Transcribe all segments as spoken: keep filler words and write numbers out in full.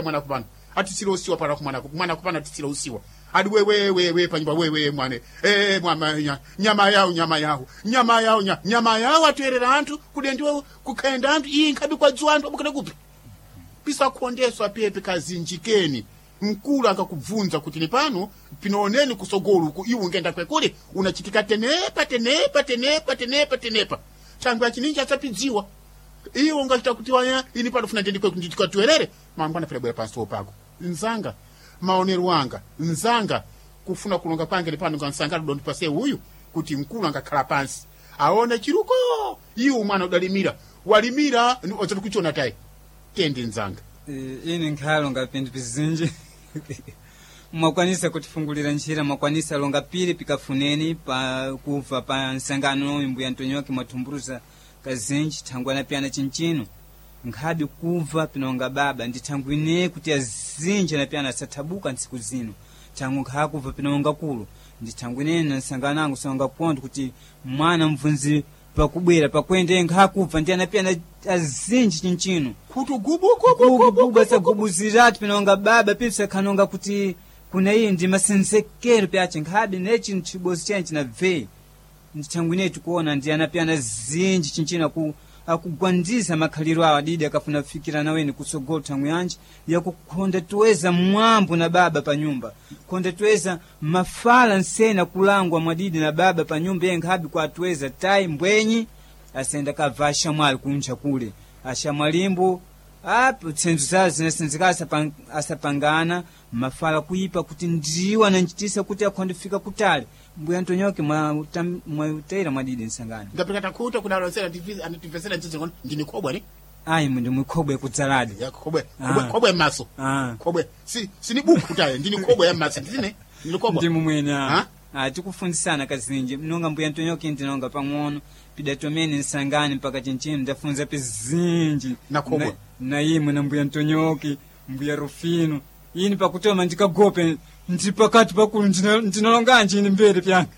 Mwana kupano atisira usiwa para kumwana mwana kupano atisira usiwa adi wewe wewe panyumba wewe mwane eh mwana nya, nyama yao nyama yao nyama yao nya, nyama yao atwerera anthu kudendiwa kukaenda anthu iyi nkhabi kwa dzuwa anthu abukira kupi pisakhondeswa pepe kazinjikeni. Mkulu akakubvunza kuti ni pano pinooneni kusogolo uku iwe ungenda kwekule unachitika tenepa tenepa tenepa tenepa tenepa thangwe achininji asapidziwa iwe ungachita kuti waya ini pano funa ndende kweku ndikatwerere mangwana pera bwera pansi pako nzanga maonero anga nzanga kufuna kulonga kwange ni pano ngansanga ndondipase uyu kuti mkulu angakhala pansi aone chiruko iwe mwana udalimira walimira ozati kuchiona tayi tende nzanga. Eh, ini nkhalo ngapindu pizinji mwakwanisa kutifungulira njira mwakwanisa longa pili pikafuneni pa kubva pa nsangano uyu mbuya Ntonyoki mwathumbuluza kazinji thangwana piyana chinchino nkhabi kubva pinonga baba ndi thangwi ine kuti azinji anapiyana asathabuka ntsiku zino thangwi nkhakubva pinonga kulu ndi thangwi inene na nsangano angu songa kontho kuti mwana mvunzi pakubwera pakwende nkhakubva ndi anapiyana azinji chinchino kuti gubu gubu asagubuziratu pinonga baba pipsakhanonga kuti kuna iyi ndi masenzekero pyace nkhabe nechi chibosi chene chinabve ndithangwi ineyi tikuona ndi anapiyana zinji chinchino aku akugwandiza makhaliro awo adidi akafuna kufikira naweni kutsogolo thangwi yanji yakukhonda tuweza mwambo na baba pa nyumba khonda tuweza mafala nsena kulangwa mwadidi na baba pa nyumba iye nkhabe kwatuweza tayi mbwenyi asenda kabva ashamwali kunja kule ashamwalimbo apo tsenzo zawo zinasenzeka asapang, asapangana mafala kuipa kuti ndiwo ananchitisa kuti akhonde fika kutali mbuya Ntonyoke mwautera mwadidi nsangano. Ndapita takhuta kuna alonsera anativesera nzizo ngono ndini khobwe ne. Ayi mundi mwikhobwe kudzaladi. Ya khobwe. Ah. Khobwe khobwe maso. Ah. Khobwe si sini buku tayo ndini khobwe ya maso ndine ndini khobwe. Ndi mumwene. Ah? Ah, tikufundisana kazinji nonga mbuya Ntonyoke ndinonga pang'ono pidatomene nsangani mpaka chinchino ndafunza pizinji. Na khobwe. na, na imwe na mbuya Ntonyoke mbuya Rufino ini pakutoma ndikagope ndi pakati pakulu ndina- ndinalonganji ini mbere pyanga.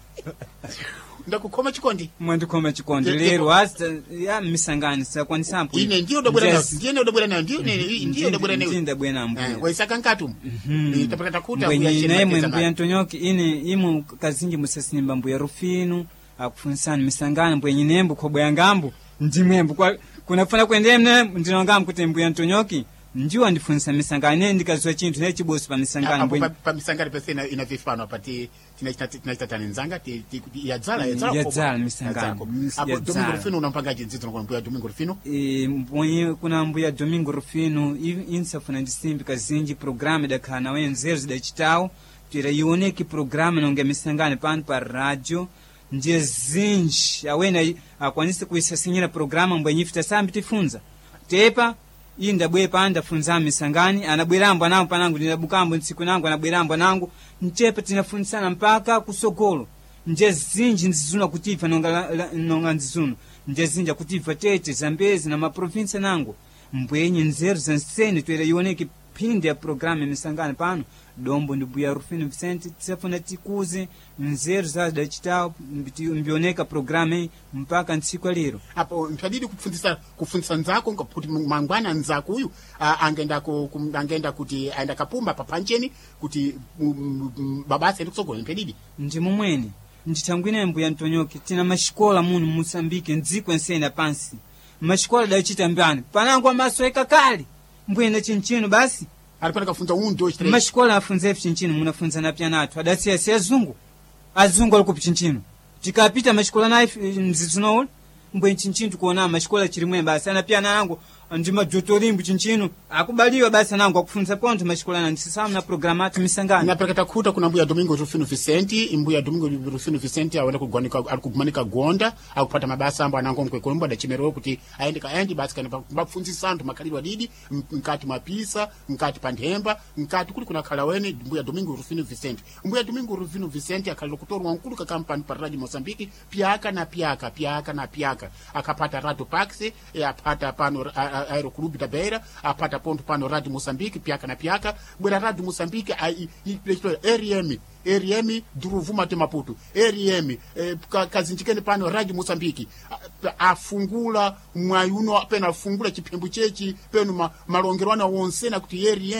Ndakukhoma chikondi. Mwandikhoma chikondi. Ye- lero asta ya misangani sakwanisampo. Ine ndiyo ndobwera nayo ndiye ndobwera nayo ndiyo ndiyo ndobwera nayo. Ndiyo ndabwera Eh, mbuya. Waisaka nkatu Mhm. tapita takuta. Mbwenye naimwe mbuya Ntonyoki ine imwe kazinji musasimba mbuya Rufino akufunsani misangano mbwenye nembo khobwe yangambo ndimwembo kwa kunafuna kuendemne ndinongambo kuti mbuya Ntonyoki ndiwo andifunsa misangano ine ndikaziwa chinthu ne chibosi pa misangano apo mbwenye pa- pa misangano pese ina ina vifano apa ti tina nzanga ti ti- yadzala yadzala khobwe. Yadzala misangano. Yadzala khobwe. Mis- Apo yadzala. Domingo Rufino unampanga jinzidzo ngona mbuya Domingo Rufino. E, mbwenye kuna mbuya Domingo Rufino i- insafuna ndisimbi kazinji programa idakhala nawe nzeru zidachitawo tira ioneke programa nonga misangano pano pa radio ndiye zinji awene ayi- akwanise kuisasinyira programa mbwenye ife tasambi tifunza tepa iyi ndabwere pano ndafunza misangani anabwerambo anango panango ndinabukambo ntsiku nango anabwerambo anango ntepa tinafunsana mpaka kusogolo nje zinji nzizuna kutibva nonga, la- la- nonga nzizuna nje zinji akutibva tete Zambezi na maprovinsi nango mbwenye nzeru zansene toera ioneke phindi ya programa ya misangano pano dombo ndi mbuya Rufino Vicente tisafuna tikuze nzeru zadachitawo mbioneka programa iyi mpaka ntsiku ya lero. Apo ntadidi kupfunzisa kufunzisa nzako nga- kuti mangwana nzako uyu ah, angenda ku, ku, angenda kuti aenda kapumba papancheni kuti mm, mm, babasa ende kutsogolo mpedidi. Ndi momwene ndithangwine mbuya Ntonyoki tina maxikola muno mu Moçambique ndziko ensene pansi maxikola dachita mbani panango amaso ekakale mbwene chinchino basi. Alipana kafunza un dois três. Maxikola afunza ife chinchino munafunza na pyanathu adasiya si azungu azungu ali kupi chinchino tikapita maxikola naye mzizinouli mbweni chinchino tikuona maxikola chirimwe basi anapyana angu ndi majotorimbu chinchino akubaliwa basi anango akufunza pontho maxikola na ndisisamu na programa athu misangano. Napeleka takhuta kuna mbuya Domingo Rufino Vicente mbuya Domingo Rufino Vicente awenda kugwanika ali kugumanika gonda akupata mabasa ambo anango mkwekombo adachemerewa kuti aende kaendi basi kana bapfunzisa anthu makhalidwe adidi m- mkati mwa pisa mkati pa nthemba mkati kuli kuna khala wene mbuya Domingo Rufino Vicente mbuya Domingo Rufino Vicente akhalira kutorwa mkulu ka kampani pa Radio Mozambique pyaka na pyaka pyaka na pyaka akapata Radio Pax eh, apata pano a- a- Aeroclube da Beira apata ponto pano Radio Mozambique pyaka na pyaka bwera Radio Mozambique ai- i- i- R M R M Duruvuma te Maputo R M eh, ka- kazinjikeni pano Radio Mozambique A- afungula mwayi uno peno afungula chiphembu chechi peno ma, malongerwana wonse na kuti R M.